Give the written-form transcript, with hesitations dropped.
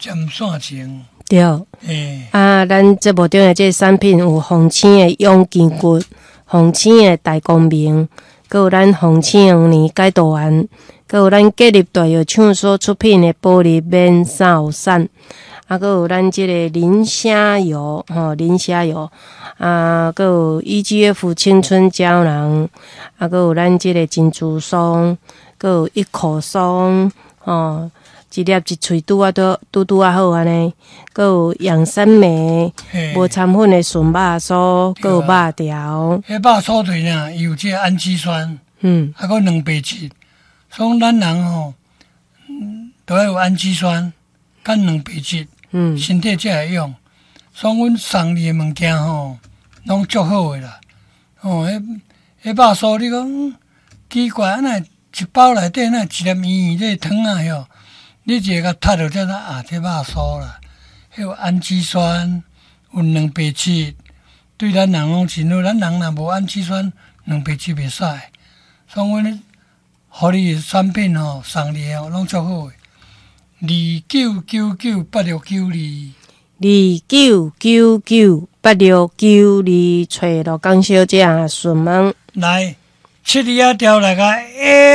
占線前。對。欸。啊，咱節目中的這个產品有鳳青的養筋骨、鳳青的大光明，閣有咱鳳青黃連解毒丸，閣有咱建立大藥廠所出品的保利免掃散，啊，閣有咱這個磷蝦油，吼，磷蝦油，啊，閣有 EGF 青春膠囊，啊，閣有咱這個珍珠松，閣有一口松，吼。一粒一喙拄仔拄拄拄仔好按呢，閣有養生酶，無摻粉的純肉酥，閣有肉條。彼肉酥對呢，伊有這個氨基酸，啊，閣蛋白質，所以咱人吼，都愛有氨基酸，佮蛋白質，身體才會用。所以阮送你的物件吼，攏足好的啦。哦，彼彼肉酥你講奇怪，按呢一包內底哪一粒圓圓這個糖仔喲？你一个共踢著才知啊，這肉酥啦，彼有氨基酸，有蛋白質，對咱人攏真好。咱人若無氨基酸，蛋白質袂使。所以阮予你的產品吼，送你的攏足好的。29998692，29998692，揣羅江小姐詢問。來，七字仔調來個 A。